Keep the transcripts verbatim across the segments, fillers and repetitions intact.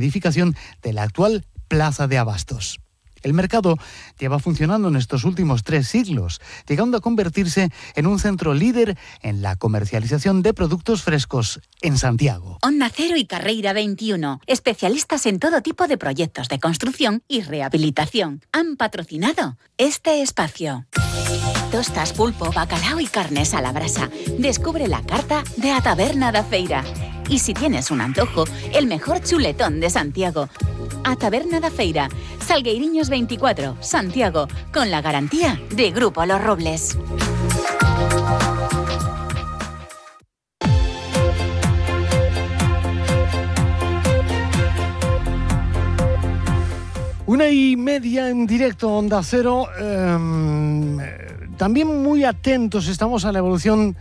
edificación de la actual Plaza de Abastos. El mercado lleva funcionando en estos últimos tres siglos, llegando a convertirse en un centro líder en la comercialización de productos frescos en Santiago. Onda Cero y Carreira veintiuno, especialistas en todo tipo de proyectos de construcción y rehabilitación, han patrocinado este espacio. Tostas, pulpo, bacalao y carnes a la brasa. Descubre la carta de A Taberna da Feira. Y si tienes un antojo, el mejor chuletón de Santiago. A Taberna da Feira, Salgueiriños veinticuatro, Santiago, con la garantía de Grupo Los Robles. Una y media en directo, Onda Cero. Eh, también muy atentos estamos a la evolución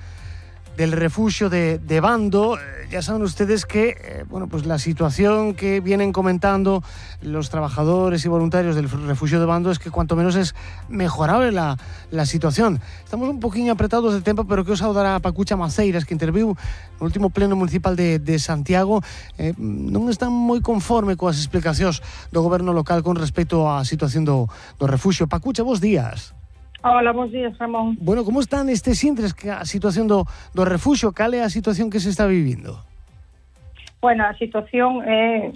del refugio de, de Bando. Ya saben ustedes que eh, bueno, pues la situación que vienen comentando los trabajadores y voluntarios del refugio de Bando es que cuanto menos es mejorable la, la situación. Estamos un poquinho apretados de tempo, pero que os saudar a Pacucha Maceiras, que interviu no último pleno municipal de, de Santiago. Eh, non están moi conforme coas explicacións do goberno local con respecto á situación do, do refugio. Pacucha, bons días. Hola, bons días, Ramón. Bueno, como están estes intres que a situación do, do refugio? Cal é a situación que se está vivindo? Bueno, a situación é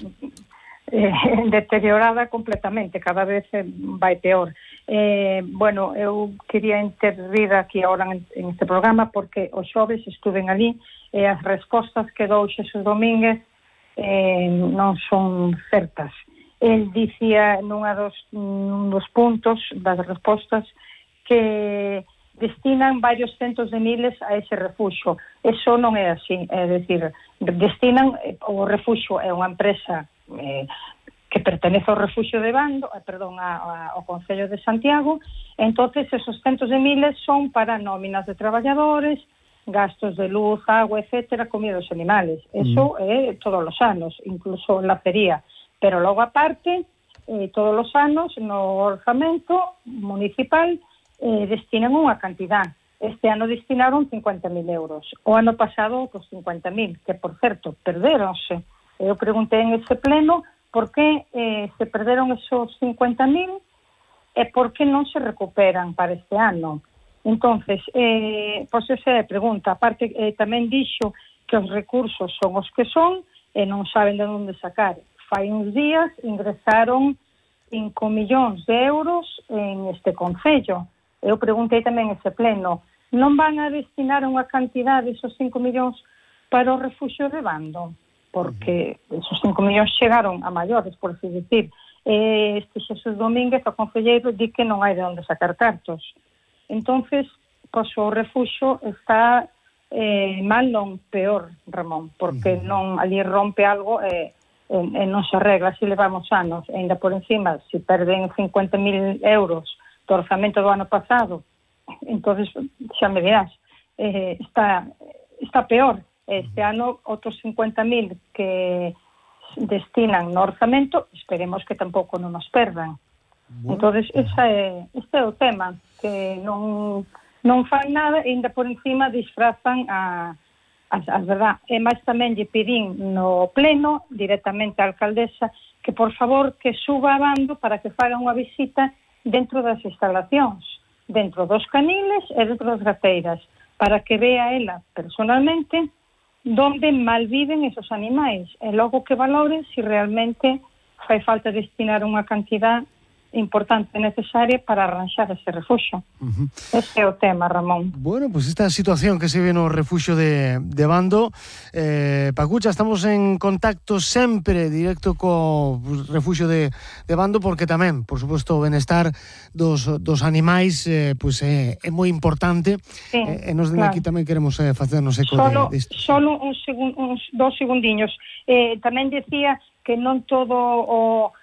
eh, deteriorada completamente, cada vez vai peor. Eh, bueno, eu quería intervir aquí ahora en, en este programa porque os xoves estuven ali e as respostas que dou Xesús Domínguez eh, non son certas. El dicía nunha dos, nun dos puntos das respostas que destinan varios centos de miles a ese refugio. Eso non é así, é dicir, destinan, o refugio é unha empresa eh, que pertenece ao refugio de Bando, eh, perdón, a, a, ao Concello de Santiago. Entonces esos centos de miles son para nóminas de traballadores, gastos de luz, agua, etcétera, comida dos animales. Eso é mm. todos os anos, incluso la feria. Pero logo aparte, eh, todos os anos no orzamento municipal Eh, destinan unha cantidad. Este ano destinaron cincuenta mil euros. O ano pasado, pues cincuenta mil, que por certo, perderonse. Eu preguntei en ese pleno por que eh, se perderon esos cincuenta mil e por que non se recuperan para este ano. Entonces, eh, pois esa é a pregunta. Aparte, eh, tamén dixo que os recursos son os que son e non saben de onde sacar. Fai uns días ingresaron cinco millóns de euros en este concello. Eu preguntei tamén ese pleno, non van a destinar unha cantidade esos cinco millóns para o refugio de Bando? Porque esos cinco millóns chegaron a maiores, por así decir. Este Xesús Domínguez, o concelleiro, di que non hai de onde sacar cartos. Entonces, pois o refugio está eh, mal non peor, Ramón, porque non ali rompe algo e eh, eh, non se arregla, así levamos anos. E ainda por encima, se perden cincuenta mil euros do orzamento do ano pasado, entonces xa me dirás, eh, está, está peor. Este ano outros cincuenta mil que destinan no orzamento, esperemos que tampouco non nos perdan. Bueno. Entonces esa é, este é o tema, que non, non fan nada e ainda por encima disfrazan a, a, a verdad. E máis tamén lle pedín no pleno directamente á alcaldesa que por favor que suba a Bando para que faga unha visita dentro das instalacións, dentro dos caniles e dentro das gateiras, para que vea ela personalmente donde malviven esos animais e logo que valore se realmente fai falta destinar unha cantidad importante necesaria para arranxar ese refugio. Uh-huh. Ese é o tema, Ramón. Bueno, pues esta situación que se ve no refugio de, de Bando, eh, Pacucha, estamos en contacto sempre directo co pues, refugio de, de Bando, porque tamén, por suposto, o benestar dos, dos animais eh, pues, é, é moi importante. Sí, e eh, nos claro. Aquí tamén queremos eh, facernos eco solo, de, de solo un segun, uns dos segundiños. Eh, tamén decía que non todo o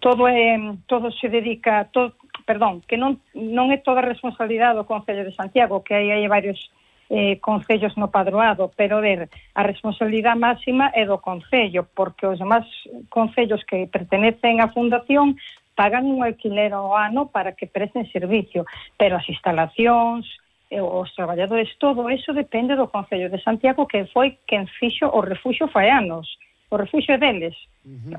todo é todo se dedica todo, perdón, que non non é toda a responsabilidade do Concello de Santiago, que aí hai varios eh, concellos no padroado, pero ver, a responsabilidade máxima é do Concello, porque os demás concellos que pertenecen á fundación pagan un alquiler ao ano para que presten servicio, pero as instalacións, os traballadores, todo eso depende do Concello de Santiago, que foi quen fixo o refugio fai anos. O refugio deles. Uh-huh. O